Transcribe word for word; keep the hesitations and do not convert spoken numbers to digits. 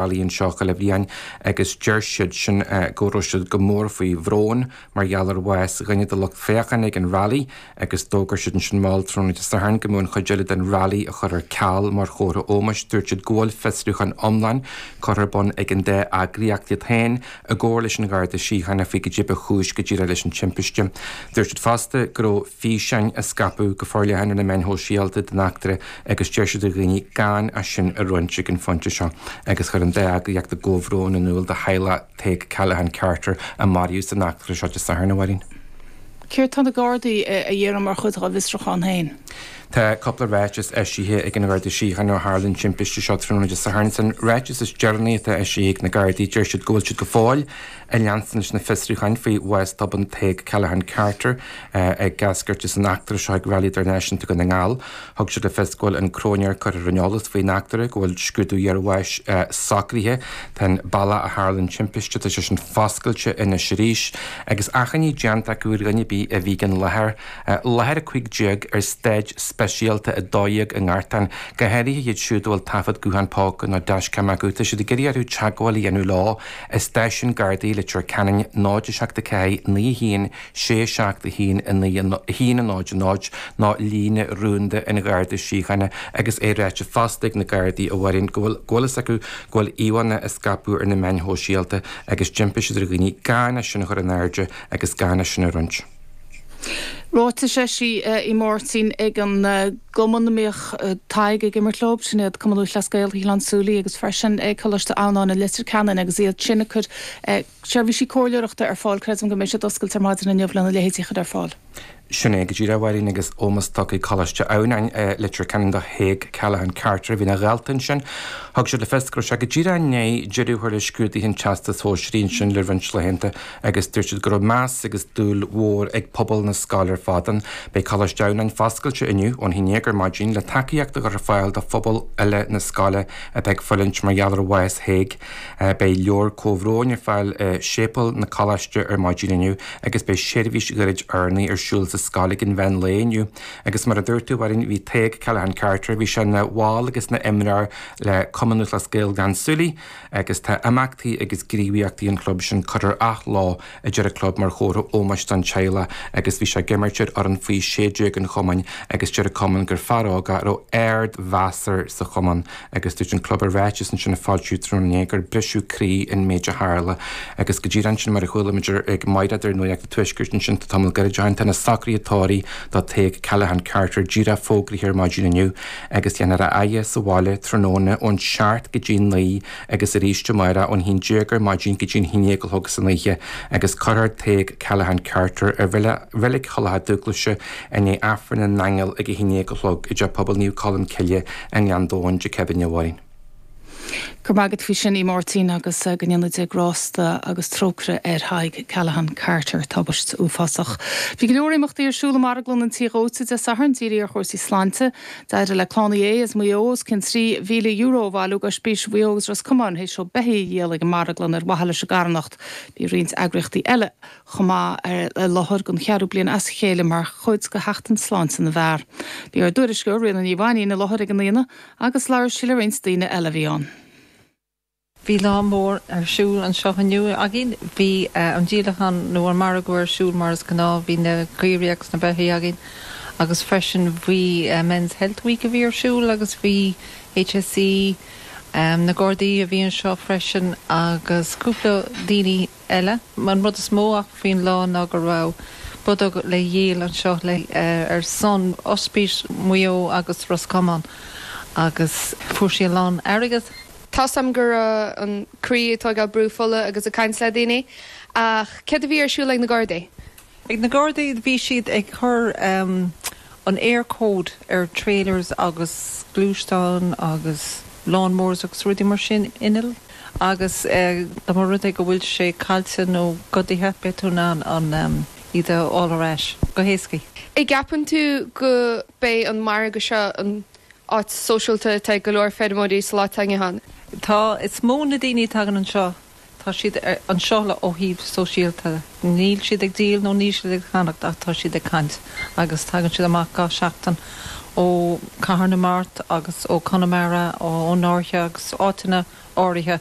Rally anseo chuile bhliain agus deir siad sin go raibh siad go mór faoi bhrón mar gheall ar bhás dhuine de lucht féachana ag an Rally agus d'fhógair siad ansin mall tráthnóna Dé Sathairn go mbeadh an chuid eile den Rally á chur ar ceal mar chomhartha ómóis. Dúirt siad go bhfuil fiosrúchán iomlán curtha ar bun ag an dá eagraíocht iad féin i gcomhar leis an Gharda Síochána faoi goidé ba chúis go díreach leis an timpiste. Dúirt siad fosta go raibh físeáin á scaipeadh go forleathan ar na meáin shóisialta den eachtra agus deir siad ar dhaoine gan é sin a roinnt ag an phointe seo agus chuir an dá eagraíocht a gcomhbhrón in iúl do theaghlach Tadhg Callaghan Carter a maraíodh san eachtra seo Dé Sathairn, a Mháirín. Céard tá na Gardaí a dhéanamh mar chuid dá bhfiosrúchán féin? Tá cúpla ráiteas eisithe ag an Gharda Síochána ó tharla an timpiste seo tráthnóna Dé Sathairn. San ráiteas is deireanaí atá eisithe ag na Gardaí deir siad go bhfuil siad go fóill ag leanstan leis na fiosrúcháin faoi bhás tobann Tadhg Callaghan Carter ag eascairt as an eachtra seo ag Rally Idirnáisiúnta Dhún na nGall. Thug siad le fios go bhfuil an cróinéir curtha ar an eolas faoin eachtra, go bhfuil scrúdú iarbháis socraithe. Tá an bealach a tharla an timpiste, tá sé sin foscailte anois arís agus achainí déanta acu ar dhuine ar bith a bhí ag an láthair, láthair a cúig déag ar staid speisialta a dó dhéag i nGartán, go háirithe iad siúd a bhfuil taifead guthán póca nó dashcam acu. Tá siad ag iarraidh orthu teagmháil a dhéanamh leo i stáisiún Gardaí Leitir Ceanainn náid a seacht a ceathair naoi a haon sé seacht a haon a naoi a haon a náid a náid nó líne rúnda an Gharda Síochána agus é ráite fosta ag na Gardaí a Mháirín go bhfuil go bhfuil fhios acu go bhfuil íomhánna á scaipeadh ar na meáin shóisialta agus d'impigh siad ar dhaoine gan é sin a chur in airde agus gan é sin a roinnt. Ráiteas eisithe a Mháirtín ag an gcumann a mbíodh Tadhg ag imirt leo, sin iad Cumann Lúthchleas Gael Ghleann tSúilí agus freisin ag Coláiste Adhamhnáin i Leitir Ceanainn agus iad sin ag cur seirbhísí comhairleoireachta ar fáil. Creidim go mbeidh siad oscailte ar maidin inniu lena leithéidí a chur ar fáil. Sin é go díreach, a Mháirín, agus ómós tugtha ag Coláiste Adhamhnáin i Leitir Ceanainn do Thaidhg Callaghan Carter a bhí ina dhalta ansin. Thug siad le fios go raibh sé go díreach i ndiaidh deireadh a chur le scrúduithe an Teastais Shóisearaigh ansin le roinnt laethanta agus dúirt siad go raibh meas agus dúil mhór ag pobal na scoile ar fad ann. Beidh Coláiste Adhamhnáin foscailte inniu ón haon déag ar maidin le tacaíocht a chur ar fáil do phobal uile na scoile atá ag fulaingt mar gheall ar bhás Thaidhg. Beidh leabhar comhbhróin ar fáil i séipéal na coláiste ar maidin inniu agus beidh seirbhís ghairid urnaí ar siúl sa scoil ag an mheán lae inniu. Agus mar a dúirt tú, a Mháirín, bhí Tadhg Callaghan Carter, bhí sé ina bhall agus ina imreoir le Cumann Lúthchleas Gael Ghleann tSúilí agus tá imeachtaí agus gníomhaíochtaí an chlub sin curtha ar athló, a deir an club, mar chomhartha ómóis don teaghlach agus bhí sé ag imirt ar fhoireann faoi sé déag an chumainn agus deir an cumann gur fear óg é a raibh ardmheas air sa chumann agus dúirt an club i ráiteas ansin a foilsíodh tráthnóna inné gur briseadh croí an méid a tharla agus go díreach ansin mar a chuala muid ag Mairéad ar Nuacht an Tuaiscirt ansin tá tamall gairid ó shin tá na socruithe tórraimh do Tadhg Callaghan Carter díreach fógraithe ar maidin inniu agus déanfar a fhaire sa bhaile tráthnóna ón seacht go dtí naoi agus arís amárach ón haon déag ar maidin go dtí an haon déag a chlog san oíche agus cuirfear Tadhg Callaghan Carter i Reilig Thulach Dúglaise i ndiaidh Aifreann na nAingeal ag a haon déag a chlog i dTeach Pobail Naomh Colm Cille i nGleann Domhain Dé Céadaoine, a Mháirín. Go raibh maith agat faoi sin, a Mháirtín, agus go ndéana Dia grásta agus trócaire ar Thadhg Callaghan Carter, tubaiste uafásach. Bhí go leor imeachtaí ar siúl i marglann an tí dhóite Dé Sathairn, dírithe ar chúrsaí sláinte. D'éirigh le Clann Uí Aodha as Maigh Eo os cionn trí mhíle euro a bhailiú d'Oispís Mhaigh Eo agus Ros Comáin théis seó beithígh a dhíol ag an marglann ar mhaithe leis an gcarthanacht. Bhí roinnt eagraíochtaí eile chomh maith ar láthair don cheathrú bliain as a chéile mar chuid de Sheachtain Sláinte na bhFear. Bhí ár dtuairisceoir Ríona Ní Mhainín i láthair ag an aonach agus labhair sí le roinnt daoine eile a bhí ann. Bhí lá mór ar siúl anseo inniu againn. Bhí an díolachán nó an margadh ar siúl mar is gnáth, bhí na caoirigh agus na beithígh againn agus freisin bhí Men's Health Week a bhí ar siúl agus bhí H S E, na Gardaí a bhí anseo freisin agus cúpla daoine eile. An rud is mó ach faoin lá ná go raibh bodóg le dhíol anseo le ar son Ospís Mhaigh Eo agus Ros Comáin agus fuair sí a lán airgead. Tá am gur an croí atá ag brú fola agus ag caint le daoine ach céard a bhí ar siúl ag na Gardaí. Ag na Gardaí bhí siad ag cur um, an Eircode ar trailers agus gluaisteáin agus lawnmowers agus rudaí mar sin innill agus eh, dá mba rud é go bhfuil sé caillte nó goidte beidh tú in ann an um, iad a fháil ar ais go héasca. An gceapann tú go mbeidh an margadh seo an áit sóisialta atá go leor feirmeoirí sa lá han. Tá is mó na daoine tagann anseo tá siad anseo le ó thaobh sóisialta. Níl siad ag díol nó níl siad ag ceannach ach tá siad ag caint agus tagann siad amach gach seachtain ó Cathair na Mart agus ó Conamara ó Náirthe agus áiteanna áirithe.